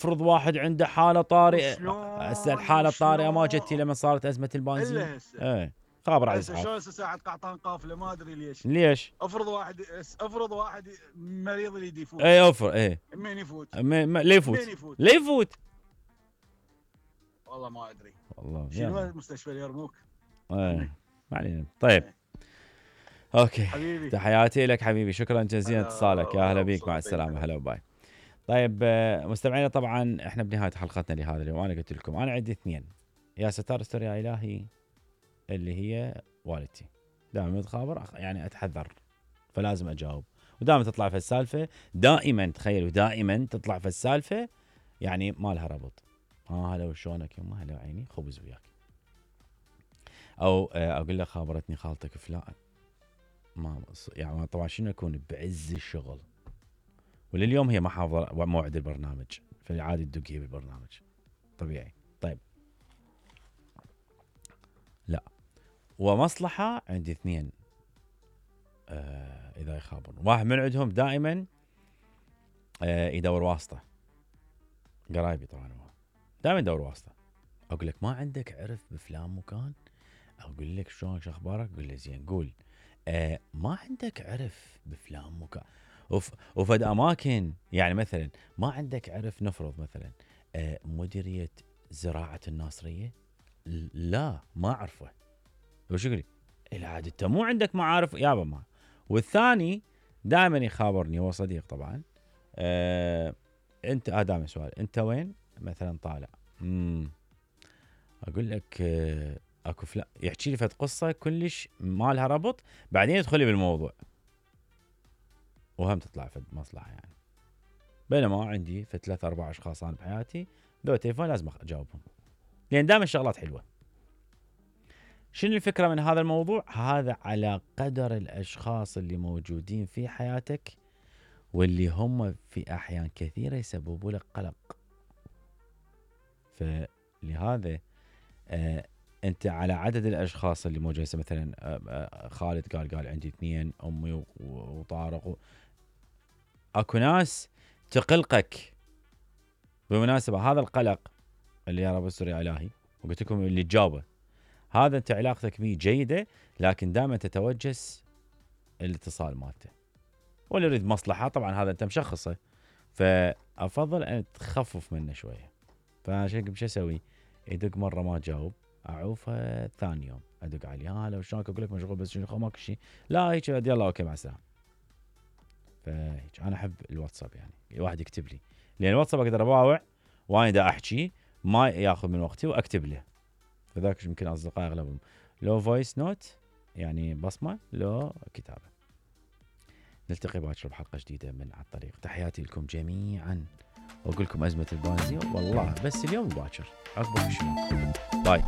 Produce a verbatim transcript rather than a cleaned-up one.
افرض واحد عنده حاله طارئه. وشلون هسه الحاله الطارئه ما جتي وشلون لما صارت ازمه البنزين الا هسه ايه خابر على هسه اسعاف. شلون هسه ساعه قعطان قافله ما ادري ليش. ليش؟ افرض واحد افرض واحد مريض يريد يفوت. اي اوفر ايه منين يفوت؟ ما ما ليه يفوت؟ منين يفوت؟ ليه يفوت؟ والله ما ادري. والله شنو يلا. مستشفى اليرموك؟ ايه ما علينا. طيب اوكي حبيبي تحياتي لك حبيبي، شكرا جزيلا هلا اتصالك، يا هلا بيك، مع وصوتك. السلامه، هلا وباي. طيب آه، مستمعينا طبعا احنا بنهايه حلقتنا لهذا اليوم، انا قلت لكم انا عندي اثنين، يا ستار استر يا الهي اللي هي والدتي، دائما تخابر يعني اتحذر فلازم اجاوب، ودائما تطلع في السالفه، دائما تخيلوا دائما تطلع في السالفه يعني ما لها ربط. ها هلا وشونك يما، هلا عيني خبز وياك. او آه، اقول لك خابرتني خالتك فلان، ما يعني طبعا شنو اكون بعز الشغل، ولليوم هي ما حافظه موعد البرنامج، فعادي تدق هي بالبرنامج طبيعي. طيب لا، ومصلحه عندي اثنين آه اذا يخابرون، واحد من عندهم دائما آه يدور واسطه، قرايبي طبعا هو دائما يدور واسطه، اقول لك ما عندك عرف بفلان مكان، اقول لك شلونك شو اخبارك، قول لي زين، قول آه ما عندك عرف بفلان مكان وف وفد اماكن، يعني مثلا ما عندك عرف، نفرض مثلا آه مديريه زراعه الناصريه، لا ما اعرفه، وش يقول لي العاد انت مو عندك معارف يابا ما. والثاني دائما يخابرني، هو صديق طبعا، آه انت آه دائما سؤال انت وين مثلا طالع، امم اقول لك آه اكو فلا، يحكي لي فد قصه كلش ما لها ربط، بعدين يدخل لي بالموضوع وهم تطلع فد مصلحه يعني، بينما عندي في ثلاث اربع اشخاص انا بحياتي ذو تليفون لازم اجاوبهم، لان دائما الشغلات حلوه. شنو الفكره من هذا الموضوع؟ هذا على قدر الاشخاص اللي موجودين في حياتك واللي هم في احيان كثيره يسببوا لك قلق. فلهذا آه انت على عدد الاشخاص اللي موجودين، مثلا آه آه خالد قال قال عندي اثنين، امي وطارق و... اكو ناس تقلقك. بالمناسبه هذا القلق اللي يا رب استر يا الهي، وقلت لكم اللي تجاوبه، هذا انت علاقتك به جيده، لكن دائما تتوجس الاتصال مالته، واللي يريد مصلحه طبعا هذا انت مشخصه، فافضل ان تخفف منه شويه. فعشان شو اسوي؟ يدق مره ما جاوب، اعوفه ثاني يوم ادق عليه، ها لو شلونك، اقول لك مشغول بس شنو ماكو شيء، لا هيك يلا اوكي مع السلامه. فهيك انا احب الواتساب، يعني الواحد يكتب لي، لان الواتساب اقدر اباوع وانا دا احكي ما ياخذ من وقتي واكتب له، فذاك يمكن اصدقائي اغلبهم لو فويس نوت يعني بصمه، لو كتابه. نلتقي باكر بحلقه جديده من على الطريق، تحياتي لكم جميعا، واقول لكم ازمه البنزين والله بس اليوم باكر عقبك شنو. باي.